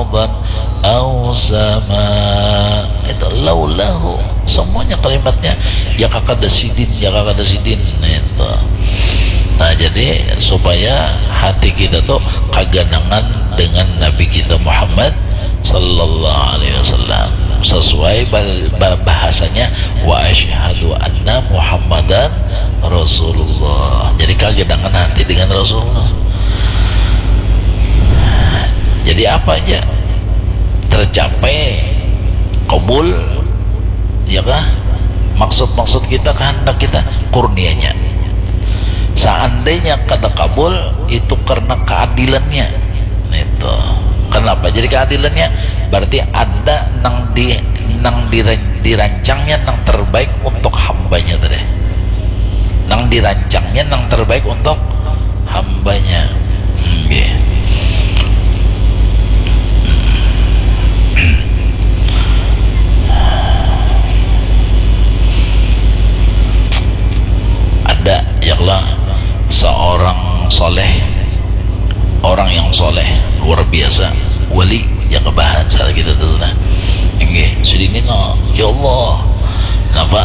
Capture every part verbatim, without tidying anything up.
ardan aw sama. Itu laulahu, semuanya kalimatnya ya kakada sidin, ya kakada sidin itu. Nah, jadi supaya hati kita tuh kaganangan dengan Nabi kita Muhammad sallallahu alaihi wasallam, sesuai bahasanya, wa asyhadu anna Muhammadan Rasulullah. Jadi kaganangan hati dengan Rasulullah. Jadi apa aja tercapai, kabul, ya kah? Maksud-maksud kita, kehendak kita, kurnianya. Seandainya kada kabul, itu karena keadilannya. Itu. Kenapa jadi keadilannya? Berarti ada nang di nang dirancangnya nang terbaik untuk hambanya tadi. Nang dirancangnya nang terbaik untuk hambanya. Hmm, ada ya Allah seorang soleh, orang yang soleh luar biasa, wali yang kebahan salah kita tuh nah. Enggak, sedini no, ya Allah, kenapa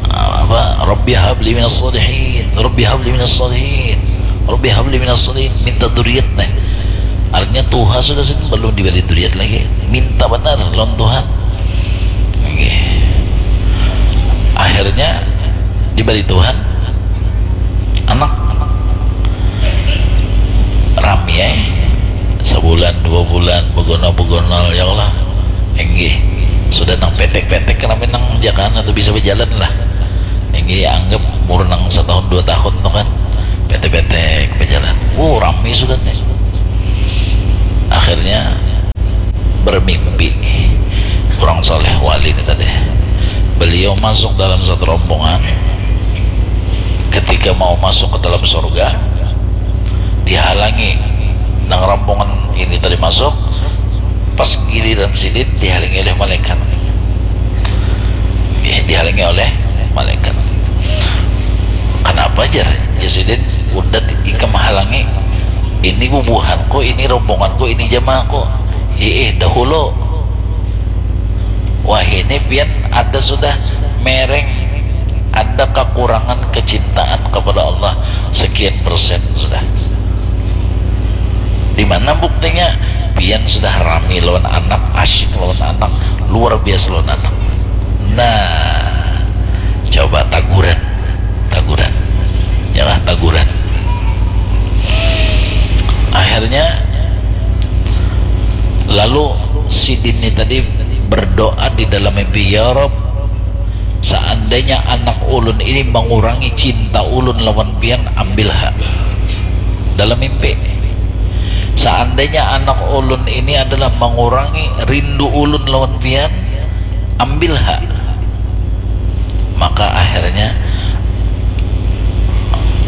apa Rabbi habli minas salihin, Rabbi habli minas salihin, Rabbi habli minas salihin, minta duriat nih. Artinya tuha sudah sih belum diberi duriat lagi, minta benar lawan Tuhan. Oke. Akhirnya diberi Tuhan anak, rami ya, sebulan dua bulan begonol-begonol ya Allah. Enggih, sudah nang petek-petek kami nang jakan atau bisa berjalan lah. Enggih, anggap umur nang setahun dua tahun tuh kan petek-petek berjalan. Uh, rami sudah nih. Akhirnya bermimpi orang soleh wali ini tadi. Beliau masuk dalam satu rombongan. Ketika mau masuk ke dalam surga, dihalangi nang rombongan ini tadi masuk. Pas giliran sidin dihalangi oleh malaikat. Ya, dihalangi oleh malaikat. Kenapa jar? Ya sidin, udah ikam halangi. Ini bubuhanku, ini rombonganku, ini jamaahku. Iih, dahulu. Wah, ini pian ada sudah mereng, ada kekurangan kecintaan kepada Allah sekian persen sudah. Di mana buktinya? Pian sudah rami lawan anak, asyik lawan anak, luar biasa lawan anak. Nah, coba taguran, taguran, yalah, taguran. Akhirnya lalu sidin ini tadi berdoa di dalam mimpi, ya Rob, seandainya anak ulun ini mengurangi cinta ulun lawan pian, ambil ha. Dalam mimpi, seandainya anak ulun ini adalah mengurangi rindu ulun lawan pian, ambil ha. Maka akhirnya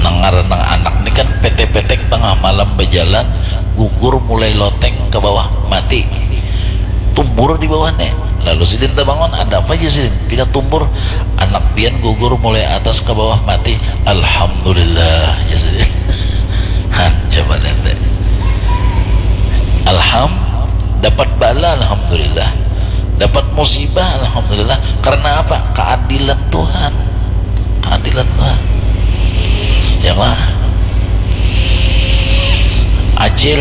nang ngaran nang anak ni kan petek-petek tengah malam bejalan, gugur mulai loteng ke bawah, mati. Tumbur di bawah nih. Lalu sidin terbangun, ada apa aja sidin? Pina tumbur, anak pian gugur mulai atas ke bawah, mati. Alhamdulillah, ya sidin. Han, coba lihat deh. Alham, dapat bala, alhamdulillah. Dapat musibah, alhamdulillah. Karena apa? Keadilan Tuhan. Keadilan Tuhan. Ya lah. Acil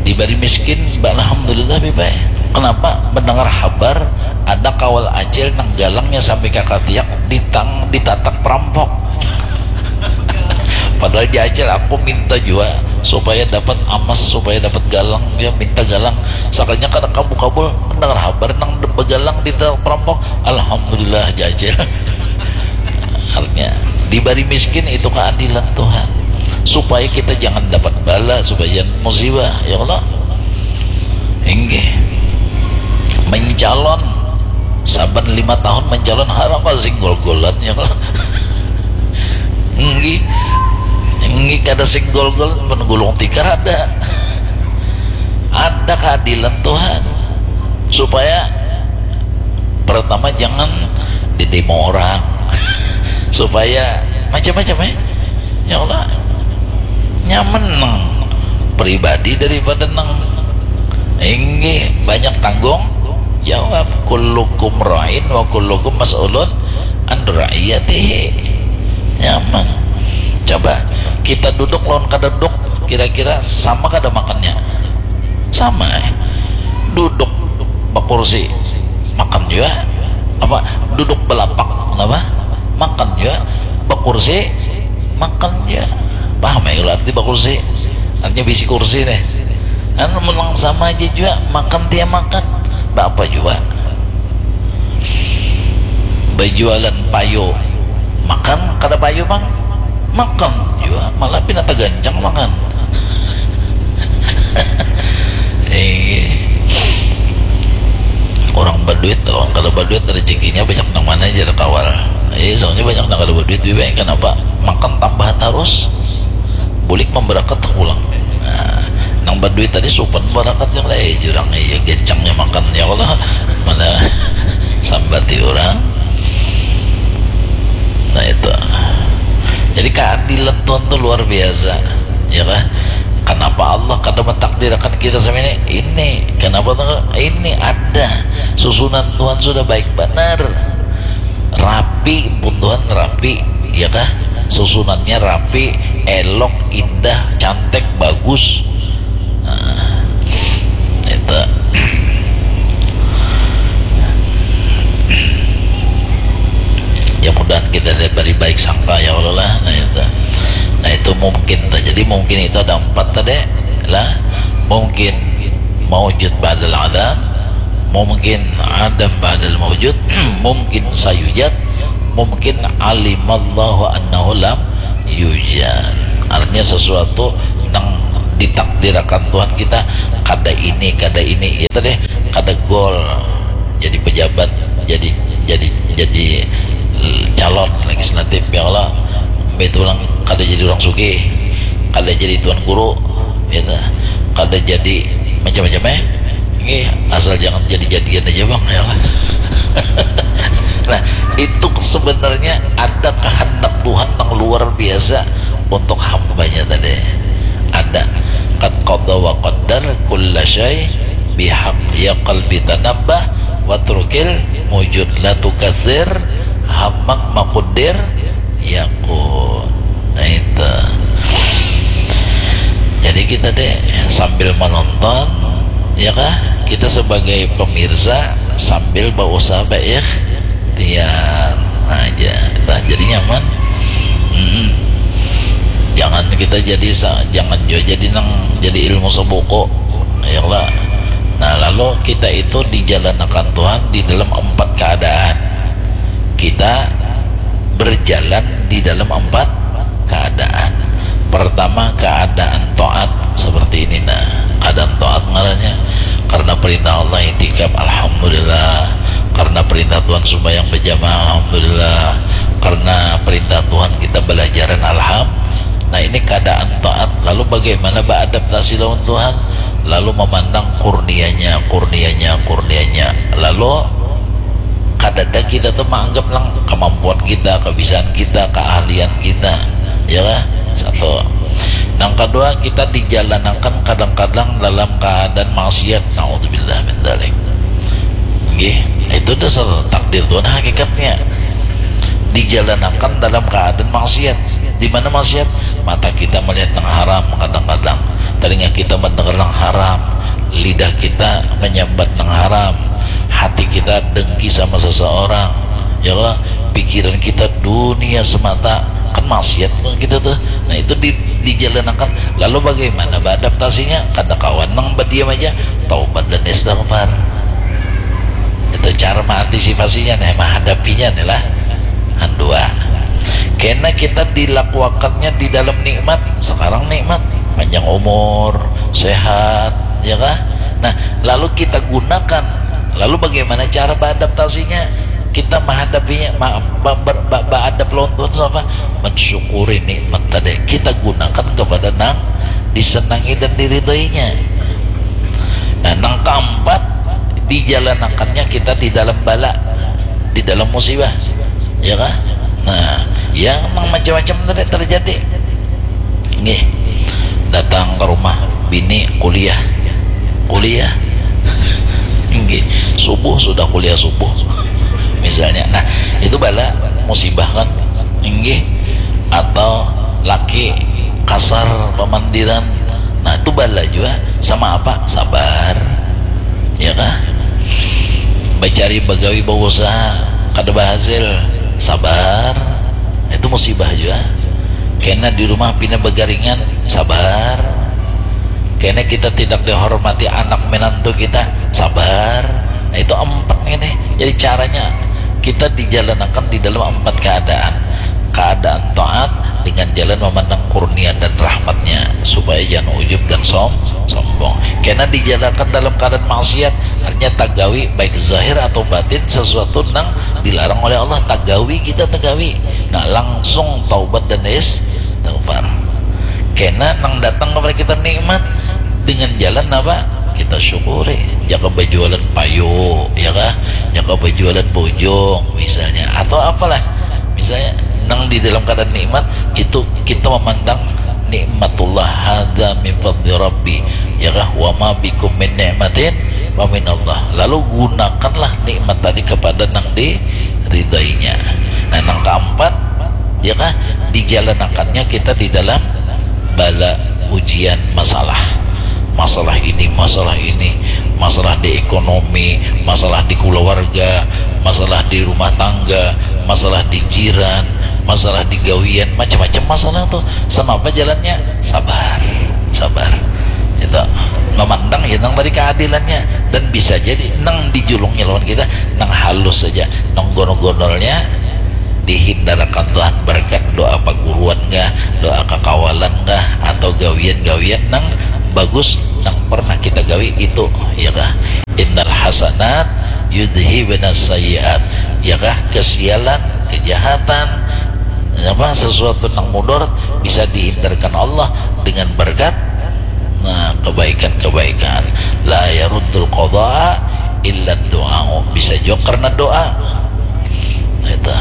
diberi miskin, alhamdulillah, bibai. Kenapa? Mendengar habar ada kawal acil nang galangnya sampai kakatiak ditang ditatak perampok. Padahal di Acil aku minta juga supaya dapat amas, supaya dapat galang, ya, minta galang. Sakalinya kada kabul-kabul, mendengar habar nang begalang di perampok, alhamdulillah, jajil. Artinya, diberi miskin itu keadilan Tuhan, supaya kita jangan dapat bala, supaya jangan musibah, ya Allah. Inggih. Mencalon, saban lima tahun mencalon, harang kau singgol-golan, ya Allah. Inggih. Inggih, kada singgol-golan, penggulung tikar ada. Ada keadilan Tuhan. Supaya pertama jangan didemo orang. Supaya macam-macam, eh. Ya Allah. Nyaman nang pribadi daripada nang Inggih, banyak tanggung jawab. Kullukum ra'in wa kullukum mas'ulun an ra'iyatihi. Nyaman. Coba kita duduk lawan kada duduk, kira-kira sama kada makannya? Sama, eh. Duduk bakursi, makan jua. Apa, duduk balapak, kenapa? Makan jua. Bakursi, makan jua. Paham ya kalau arti bakursi? Artinya bisi kursi nih. Anu, menang sama aja jua, makan dia makan. Bapa jua. Bajualan payu, makan kada payu, Bang? Makan jua, malah pina tagancang makan. Eh, orang baduit, orang kada baduit, rezekinya banyak nang mana aja kawal. Eh, soalnya banyak nang kada baduit, bibi, kenapa? Makan tambahan terus, bulik memberakat pulang. Nah, nang baduit tadi supan barakat yang lain jurang, iya, gecangnya makan, ya Allah, mana sambati orang. Nah, itu. Jadi keadilan Tuhan tuh luar biasa, ya kah? Kenapa Allah kada mentakdirkan kita sama ini? Ini, kenapa tuh? Ini ada susunan Tuhan sudah baik benar, rapi pun Tuhan, rapi, ya kah? Susunannya rapi, elok, indah, cantik, bagus. Nah, itu. Ya, mudahan kita diberi baik sangka, ya Allah lah. Nah, itu. Nah, itu mungkin terjadi. Mungkin itu ada empat tadi lah. Mungkin maujud ba'dal adam, mungkin adam ba'dal maujud, mungkin sayujad, mungkin alimallahu annahu lam yujad. Artinya sesuatu nang ditakdirakan Tuhan kita, kada ini, kada ini, itu deh, kada gol jadi pejabat, jadi jadi jadi calon legislatif, ya Allah, itu orang kada jadi orang sugih, kada jadi tuan guru, gitu, kada jadi macam-macam, eh. Ini asal jangan jadi-jadian aja, Bang, ya Allah. Nah, itu sebenarnya ada kehendak Tuhan yang luar biasa untuk hambanya tadi. Ada. Qad qada wa qaddar kulla syai bihaq, ya qalbi tanabbah, watrukil mujud, la tukasir hammak makudir yakun. Nah, itu. Jadi kita deh sambil menonton, ya kah? Kita sebagai pemirsa sambil berusaha berikhtiar aja. Nah, jadi nyaman. Mm-mm. Jangan kita jadi sa-, jangan juga jadi nang jadi ilmu sebuku, ya lah. Nah, lalu kita itu dijalanakan Tuhan di dalam empat keadaan. Kita berjalan di dalam empat keadaan. Pertama, keadaan taat seperti ini, nah, keadaan taat ngarannya. Karena perintah Allah itikaf, alhamdulillah. Karena perintah Tuhan sembahyang berjamaah, alhamdulillah. Karena perintah Tuhan kita belajaran, alham. Nah, ini keadaan taat. Lalu bagaimana beradaptasi lawan Tuhan? Lalu memandang kurnianya, kurnianya, kurnianya. Lalu kadada kita tuh menganggap lang kemampuan kita, kebisaan kita, keahlian kita, ya lah. Satu. Yang kedua, kita dijalanakan kadang-kadang dalam keadaan maksiat. Naudzubillah min dzalik. Nggih, itu dasar takdir Tuhan hakikatnya. Dijalanakan dalam keadaan maksiat. Di mana maksiat? Mata kita melihat yang haram kadang-kadang, telinga kita mendengar yang haram, lidah kita menyambat yang haram, hati kita dengki sama seseorang, ya Allah, pikiran kita dunia semata, kan maksiat kita tuh. Nah, itu di, dijalanakan. Lalu bagaimana beradaptasinya? Kada kawan nang berdiam aja, taubat dan istighfar. Itu cara mengantisipasinya nih, menghadapinya nih lah. Handua. Karena kita dilakuakannya di dalam nikmat, sekarang nikmat, panjang umur, sehat, ya kah? Nah, lalu kita gunakan. Lalu bagaimana cara beradaptasinya? Kita menghadapinya, ma-, ba-, ber-, ba-, beradap lawan Tuhan sama mensyukuri nikmat tadi. Kita gunakan kepada nang disenangi dan diridhoinya. Nah, nang keempat, dijalanakannya kita di dalam bala, di dalam musibah, ya kah? Nah, yang nang macam-macam tadi terjadi. Nggih, datang ke rumah bini kuliah, kuliah, Subuh sudah kuliah subuh misalnya. Nah, itu bala musibah kan? Inggih. Atau laki kasar pamandiran. Nah, itu bala jua. Sama apa? Sabar. Ya kah? Bacari, bagawi, bausaha kada bahasil, sabar. Itu musibah jua. Kena di rumah pina bagaringan, sabar. Kena kita tidak dihormati anak menantu kita, sabar. Nah, itu empat ini. Jadi caranya kita dijalanakan di dalam empat keadaan. Keadaan taat dengan jalan memandang kurnia dan rahmatnya, supaya jangan ujub dan som sombong. Kena dijalankan dalam keadaan maksiat, artinya tagawi baik zahir atau batin sesuatu nang dilarang oleh Allah, tagawi kita, tagawi. Nah, langsung taubat dan istighfar. Kena nang datang kepada kita nikmat dengan jalan apa? Kita syukuri. Jaka berjualan payu, ya kah? Jaka berjualan bojong misalnya, atau apalah. Misalnya nang di dalam keadaan nikmat itu kita memandang nikmatullah, hadza min fadli rabbi, ya kah? Wa ma bikum min ni'matin fa minallah. Lalu gunakanlah nikmat tadi kepada nang diridainya. Nah, nang keempat, ya kah, dijalanakannya kita di dalam bala ujian masalah. Masalah ini, masalah ini, masalah di ekonomi, masalah di keluarga, masalah di rumah tangga, masalah di jiran, masalah di gawian, macam-macam masalah tuh. Sama apa jalannya? Sabar, sabar. Itu memandang ya nang tadi keadilannya, dan bisa jadi nang dijulungi lawan kita nang halus saja, nang gonol-gonolnya dihindarakan Tuhan berkat doa paguruan kah, doa kakawalan kah, atau gawian-gawian nang bagus nang pernah kita gawi itu, ya kah? Innal hasanat yudhibna sayyiat, ya kah? Kesialan, kejahatan, apa, sesuatu nang mudarat bisa dihindarkan Allah dengan berkat, nah, kebaikan-kebaikan. La yaruddul qada illa doa, bisa juga karena doa. Itu.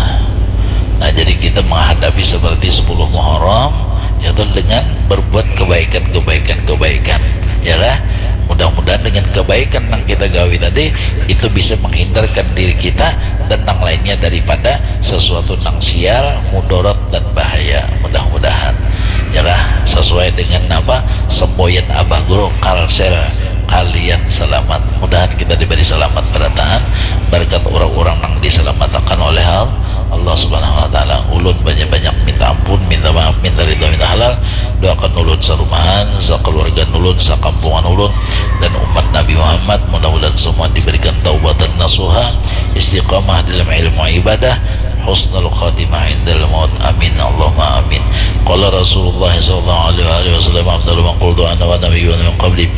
Nah, jadi kita menghadapi seperti sepuluh Muharram, yaitu dengan berbuat kebaikan, kebaikan, kebaikan, ya lah. Mudah-mudahan dengan kebaikan yang kita gawi tadi itu bisa menghindarkan diri kita dan yang lainnya daripada sesuatu yang sial, mudarat, dan bahaya. Mudah-mudahan, ya lah, sesuai dengan apa, semboyan Abah Guru, Kalsel, kalian selamat. Mudahan kita diberi selamat berataan berkat orang-orang yang diselamatkan oleh Allah Subhanahu wa Ta'ala. Ulun banyak-banyak minta ampun, minta maaf, minta ridha, minta halal. Doakan ulun sarumahan, sakeluarga ulun, sakampungan ulun, dan umat Nabi Muhammad. Mudah-mudahan semua diberikan taubatan nasuha, istiqamah dalam ilmu ibadah, husnul khatimah indal maut. Amin, Allahumma amin. Qala Rasulullah sallallahu alaihi wasallam, afdalu man qultu ana wa nabiyyuna min qabli,